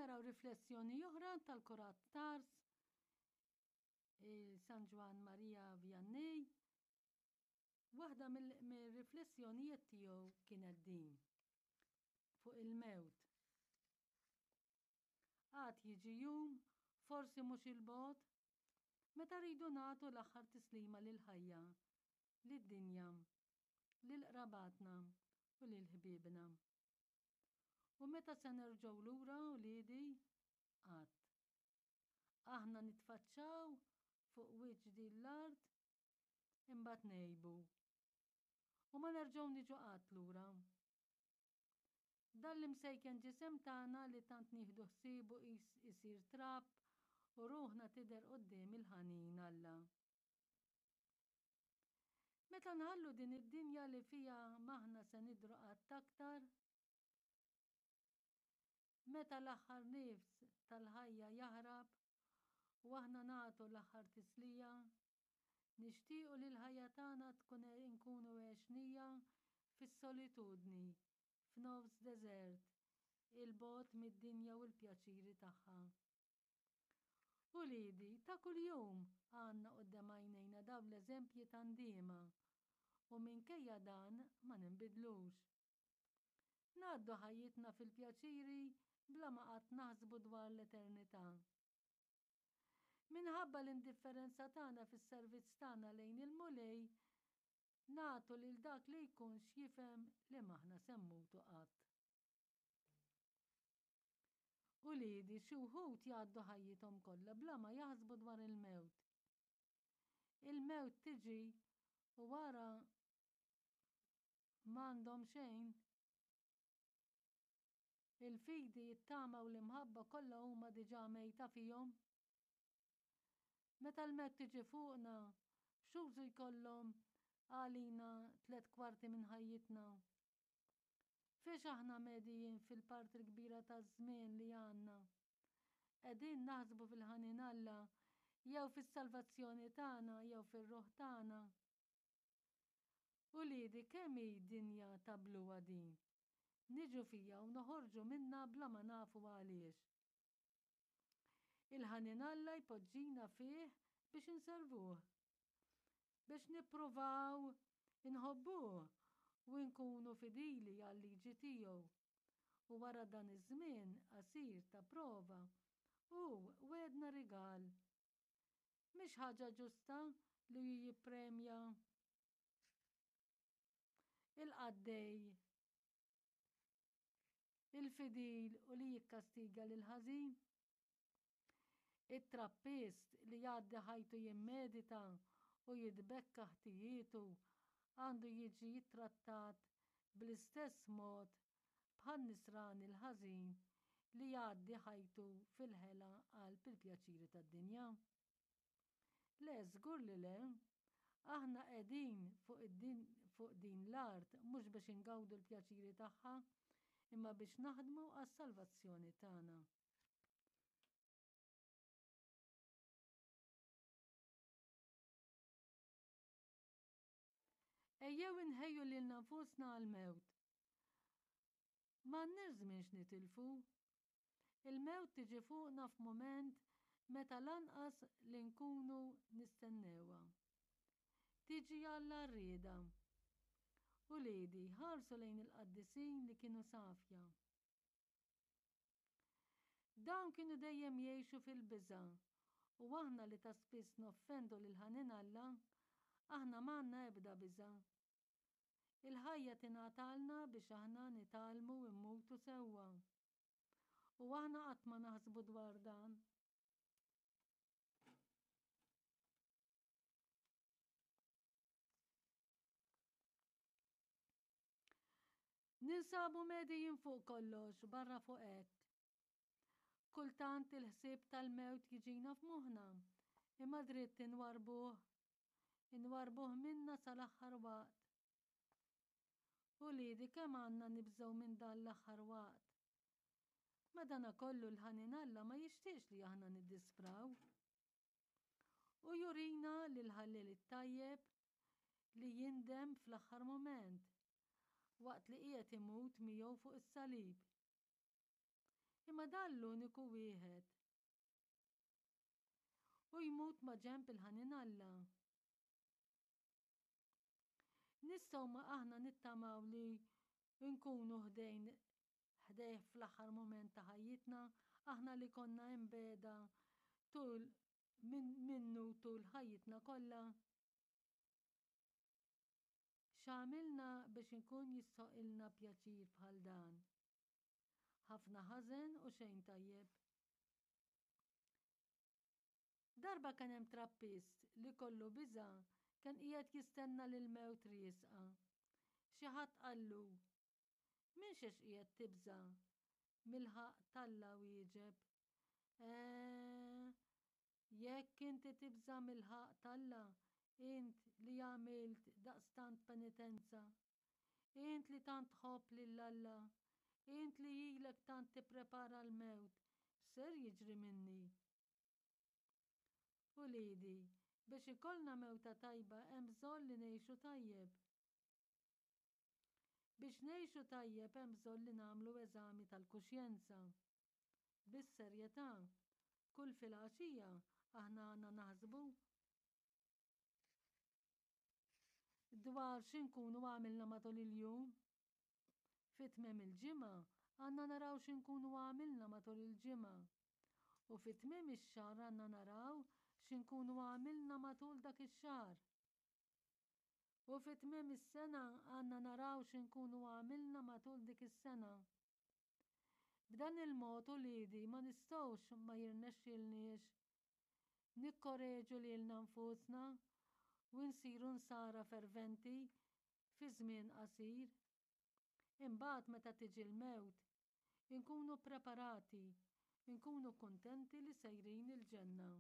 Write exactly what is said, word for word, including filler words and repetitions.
naraw riflessjoni oħra tal-Kurat Tars, San Ġwann Maria Vianney. Waħda mill-riflessjonijiet tiegħu kienet din fuq il-mewt. Għad jiġi jum, forsi mhux il-bogħod, meta rridu nagħtu l-aħħar tislima lill-ħajja, lid-dinja, lil qrabatna u lil ħbiebna. U meta se nerġgħu lura uliedi? Qatt. Aħna nitfaċċaw fuq wiċċ din l-art imbagħad ngħibu. U ma nerġgħu niġu qatt lura. Dan l-imsejken ġisem tagħna li tant nieħdu ħsiebu isir trab u ruħna tidher quddiem il-ħanin Alla. Meta nħallu din id-dinja li fiha m'aħna se nidhru qatt aktar, meta l-aħħar nifs tal-ħajja jaħrab u aħna nagħtu l-aħħar tislija, nixtiequ li l-ħajja tagħna tkun inkunu għexnija fis-solitudni, f'nofs deżert, il-bogħod mid-dinja u l-pjaċiri tagħha. Uliedi, ta' kuljum għandna quddiem għajnejna dawn l-eżempji ta' ndiema u minkejja dan ma ninbidlux. Ngħaddu ħajjitna fil-pjaċiri bla ma qatt naħsbu dwar l-eternità. Minħabba l-indifferenza tagħna fis-servizz tagħna lejn il-Mulej, nagħtu lil dak li jkun x'jifhem li m'aħna se mmutu qatt. Uliedi, xi wħud jgħaddu ħajjithom kollha bla ma jaħsbu dwar il-mewt. Il-mewt tiġi u wara m'għandhom xejn. Il-fidi, it-tama u l-imħabba kollha huma diġà mejta fihom. Meta l-mewt tiġi fuqna, x'użu jkollhom għalina tliet kwarti minn ħajjitna? Fiex aħna medijin fil-parti l-kbira taż-żmien li għandna? Qegħdin naħsbu fil-ħanin Alla jew fis-salvazzjoni tagħna jew fir-ruħ tagħna? Uliedi, kemm hi dinja ta' bluha din? Niġu fija u noħorġu minna bla ma nafu għaliex. Il-ħanin Alla jpoġġina fih biex inservuh, biex nippruvaw inħobbuh u nkunu fidili għal-liġi tiegħu. U wara dan iż-żmien qasir ta' prova, hu wegħedna rigal. Mhix ħaġa ġusta li hu jippremja il-qaddej il-fidil u li jikkastiga lil ħażin? It-trappist li jgħaddi ħajtu jimmedita u jitbekka ħtijietu għandu jiġi jittrattat bl-istess mod bħan-nisrani l-ħażin li jgħaddi ħajtu fil-ħela qalb il-pjaċiri tad-dinja? Le, żgur li le. Aħna qegħdin fuq id-din fuq din l-art mhux biex ingawdu l-pjaċiri tagħha, imma biex naħdmu għas-salvazzjoni tagħna. Ejjew inħejju lilna nfusna għall-mewt. M'għandniex żmien x'nitilfu. Il-mewt tiġi fuqna f'mument meta lanqas li nkunu nistennewha. Tiġi għall-għarrieda. Uliedi, ħarsu lejn il-qaddisin li kienu safja. Dawn kienu dejjem jgħixu fil-biża' u aħna li ta' spiss noffendu lil ħanin Alla, aħna m'għandna ebda biża'. Il-ħajja tingħatalna biex aħna nitgħallmu mmutu sewwa. U aħna qatt ma naħsbu dwar dan. Ninsabu medijin fuq kollox barra fuq hekk. Kultant il-ħsieb tal-mewt jiġina f'moħħna, imma dritt inwarbuh, inwarbuh minna sal-aħħar waqt. Uliedi, kemm għandna nibżgħu minn dan l-aħħar waqt. Madanakollu l-ħanin Alla ma jixtieqx li aħna niddispraw. U jurina li l-ħallel it-tajjeb li jindem fl-aħħar moment, waqt li qiegħed imut miegħu fuq is-salib. Imma dan l-uniku wieħed. U jmut maġenb il-ħanin Alla. Nistgħu ma aħna nittamaw li nkunu ħdejn ħdejh fl-aħħar mument ta' ħajjitna, aħna li konna imbegħda tul min, minnu tul ħajjitna kollha? X'għamilna biex inkun jistħoqqilna pjaċir bħal dan? Ħafna ħażen u xejn tajjeb. Darba kien hemm trappist li kollu biża' kien qiegħed jistenna l-mewt riesqa. Xi ħadd qallu: "Minn xiex qiegħed tibża'?" Mill-ħaqq t'Alla, wieġeb. "Eh, jekk inti tibża' mill-ħaqq t'Alla, int li għamilt daqstant penitenza, int li tant tħobb lil Alla, int li ilek tant tipprepara l-mewt, ser jiġri minni?" Uliedi, biex ikollna mewta tajba hemm bżonn li ngħixu tajjeb. Biex ngħixu tajjeb hemm bżonn li nagħmlu eżami tal-kuxjenza. Bis-serjetà, kull filgħaxija aħna għandna naħsbu dwar x'inkunu għamilna matul il-jum. Fi tmiem il-ġimgħa għandna naraw x'inkunu għamilna matul il-ġimgħa. U fi tmiem ix-xahar għandna naraw x'inkunu għamilna matul dak ix-xahar. U fi tmiem is-sena għandna naraw x'inkunu għamilna matul dik is-sena. B'dan il-mod, uliedi, ma nistgħux ma jirnexxilniex nikkoreġu lilna nfusna u nsiru nsara ferventi fi żmien qasir. Imbagħad meta tiġi l-mewt, inkunu preparati, inkunu kuntenti li sejrin il-ġenna.